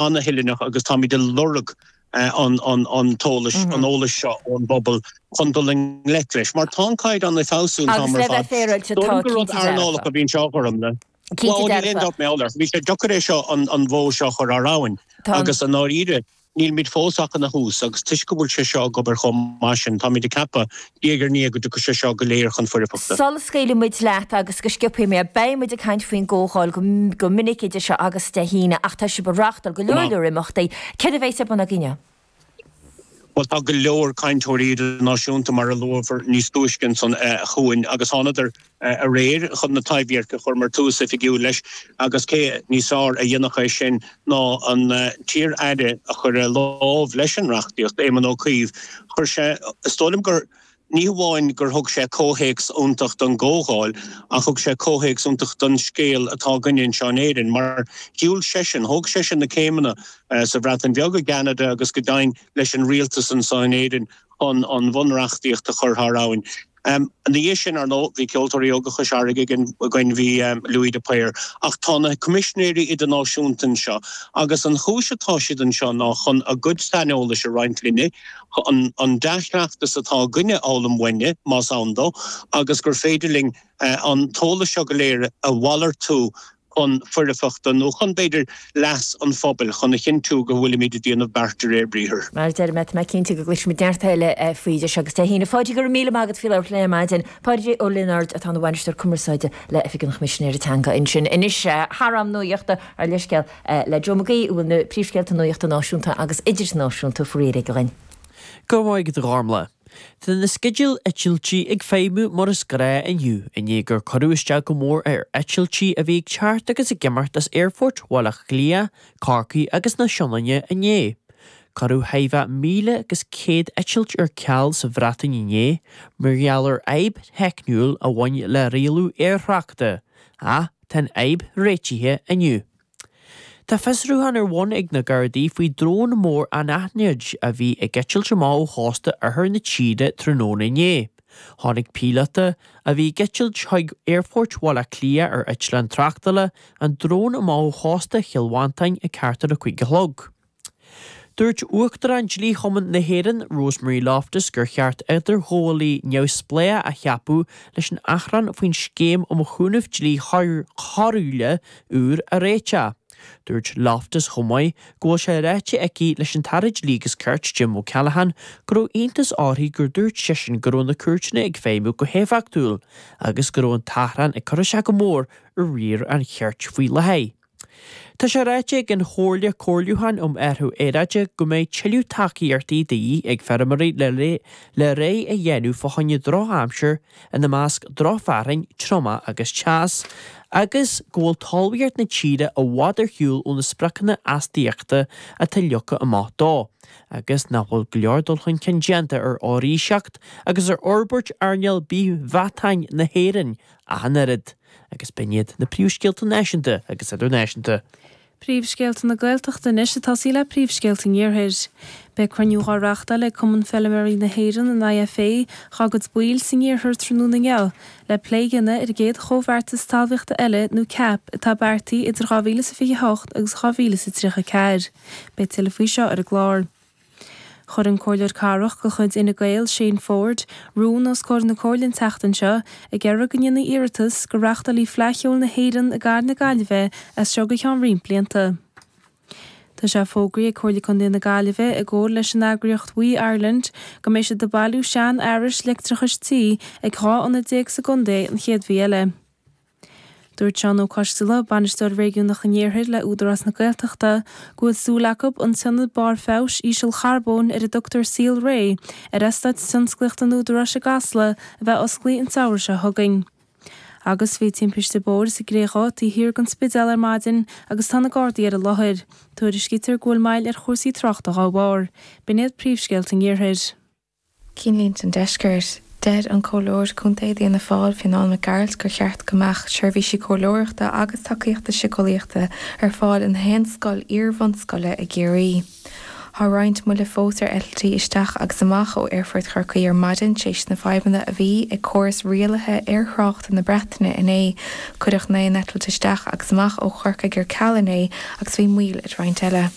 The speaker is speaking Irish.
Ana-thuilleanach agus táimid ag lorg an t-eolais, an eolais seo ón bpobal chun dul i ngleic leis. Mar tá an caighdeán ag feabhsú an t-am ar fad. Agus le bheith féaráilte, tá Dóigh liom gur rud cinnte dearfa. earnálach a bhí anseo a Ghormfhlaith. Cinnte Bhuel, níl aon dearfa. dabht mé air. Bhí sé deacair é seo, an bhó seo a chur thar abhainn. Tá an. Agus i ndáiríre, Nílimid fós ach ina thús agus toisc go bhfuil sé seo ag obair chomh maith sin, táimid ag ceapadh, diaidh ar ndiaidh, go dtiocfaidh sé seo go léir chun foirfeachta. Sula scaoilfidh muid leat agus go sciobtha mé, beidh muid ag caint faoin gcomhdháil go minic idir seo agus Dé hAoine ach tá sibh ag reáchtáil go Go leor maith. leor imeachtaí. Céard a bheas ar bun agaibh inniu? Bhuel, tá go leor cainteoirí idirnáisiúnta, mar a luamar níos túisce ansan, chugainn agus thánadar aréir chun na Taibhdheirc a chur mar tús oifigiúil leis agus cé níos fearr a dhéanfadh é sin ná an t-iar-aire a chuir a lámh leis an reachtaíocht, Éamon Ó Cuív. Chuir sé, is dóigh liom gur, ní hamháin gur thug sé comhthéacs iontach don gcomhdháil ach thug sé comhthéacs iontach don scéal atá againne anseo in Éirinn mar shiúil seisean, thóg seisean na céimeanna sa Bhreatain Bheag, i gCeanada agus go deimhin leis an rialtas anseo in Éirinn chun an bhunreachtaíocht a chur thar abhainn. Ina dhiaidh sin, ar ndóigh, bhí Ceoltóirí Óga Chois Fharraige againn, bhí Louis de Paor. Ach tá na Coimisinéirí Idirnáisiúnta anseo agus an chúis atá siad anseo ná chun a gcuid saineolais a roinnt linne, an dea-chleachtas atá againne a fhoghlaim uainne, más ann dó, agus gur féidir linn an t-eolas seo go léir a mhalartú chun foirfeachta nó chun, b'fhéidir, leas an phobail, chun a chinntiú go bhfuilimid ag déanamh beart de réir briathair. Mar a deir mé, tá mé cinnte go gcloisfimid neart eile faoi idir seo agus Dé hAoine. Pháidí, go raibh míle maith agat faoi labhairt linn ar maidin. Páidí Ó Lionáird atá ina Bhainisteoir Cumarsáide le Oifig an Choimisinéara Teanga ansin. Anois, thar am nuachta, ár leithscéal le Joe Mac Aoidh, a bhfuil na príomhscéalta nuachta náisiúnta agus idirnáisiúnta faoi réir aige dhuinn. Go raibh maith agat a Ghormfhlaith. Tá na sceidil eitiltí ag feidhmiú mar is gnáth inniu i ndiaidh gur cuireadh isteach go mór ar eitiltí a bhí ag teacht agus ag imeacht as Aerfoirt Bhaile Átha Cliath, Corcaí agus na Sionainne inné. Cuireadh thart fá 1,100 eitilt ar ceal sa Bhreatain inné mar gheall ar fhadhb theicniúil a bhain le rialú aerthráchta, ach tá an fhadhb réitithe inniu. Tá fiosrúchán ar bun ag na Gardaí faoi drón mór anaithnid a bhí ag eitilt amach ó chósta oirthear na tíre tráthnóna inné. Chonaic píolóta, a bhí ag eitilt chuig Aerfort Bhaile Átha Cliath ar eitleán tráchtála, an drón amach ó chósta Chill Mhantáin ag thart ar a 5 a chlog. Dúirt Uachtarán Dlí-Chumann na hÉireann, Rosemary Loftus, gur cheart idirghabhálaí neamhspleách a cheapadh leis an achrann faoin scéim um chúnamh dlí choiriúil úr a réiteach. Dúirt Loftus chomh maith go bhfuil sé ráite aici leis an tAire Dlí agus Cirt, Jim O'Callaghan, go raibh iontas uirthi gur dúirt seisean go raibh na cúirteanna ag feidhmiú go héifeachtúil agus go raibh an t-achrann ag cur isteach go mór ar riar an chirt faoi láthair. Tá sé ráite ag an Chomhairle Comhairliúcháin um Athrú Aeráide go mbeidh tuilleadh tacaíochtaí de dhíth ag feirmeoirí le réidh a dhéanamh fá choinne drochaimsir, ina measc drochfhearthainn, triomach agus teas, agus go bhfuil talmhaíocht na tíre i bhfad ar shiúl ó na spriocanna astaíochta atá leagtha amach dó, agus nach bhfuil go leor dul chun cinn déanta ar fhoraoiseacht agus ar fhorbairt earnáil bith-mheatáin na hÉireann ach an oiread. Agus b'in iad na príomhscéalta náisiúnta agus idirnáisiúnta. Príomhscéalta na Gaeltachta anois ag tosaí le príomhscéalta an Iarthair. Beidh cruinniú dhá reáchtáil ag Cumann Feilméaraí na hÉireann, an IFA, dhá gcuid baill san iarthar tráthnóna inniu le plé a dhéanamh ar an gcéad Chomhbheartas Talmhaíochta eile nó cap atá beartaithe idir 2028 agus 2034. Beidh tuilleadh faoi seo ar an gclár. Chuir an Comhairleoir Cathrach de chuid Fhine Gael, Shane Forde, rún os comhair na Comhairle an tseachtain seo ag iarraidh go ndéanfaí iarratas go reáchtálfaí Fleadh Cheoil na hÉireann i gcathair na Gaillimhe as seo go ceann roinnt blianta. Tá sé fógraithe ag Comhairle Contae na Gaillimhe i gcomhar leis an eagraíocht WEEE Ireland go mbeidh siad ag bailiú sean-fhearais leictreachais tí ag 12 ionad sa gcontae an chéad mhí eile. Dúirt Seán Ó Coisteala, Bainisteoir Réigiúnach an Iarthair le Údarás na Gaeltachta, go bhfuil súil acu an t-ionad barr feabhais ísealcharbóin ar a dtugtar Saol Ré ar eastát tionsclaíochta an Údaráis i gCasla a bheith osclaithe an samhradh seo chugainn. Agus bhí timpiste bóthair sa gCré Dhubh taobh thiar den Spidéal ar maidin agus tá na Gardaí ar an láthair. Tuairiscítear go bhfuil moill ar chúrsaí tráchta dhá bharr. B'in iad príomhscéalta an Iarthair. Cinnlínte an Deiscirt. Deir an Comhairleoir Contae d'Fhianna Fáil, Fionán Mac Gearailt, gur cheart go mbeadh seirbhísí comhairleoireachta agus tacaíochta siceolaíochta ar fáil i ngach aon scoil iar-bhunscoile i gCiarraí. Tá roinnt moille fós ar eitiltí isteach agus amach ó Aerfort Chorcaí ar maidin tar éis na fadhbanna a bhí ag córas rialaithe aerthráchta na Breataine inné. Cuireadh 9 n-eitilt isteach agus amach ó Chorcaigh ar ceal inné agus bhí moill ar roinnt eile.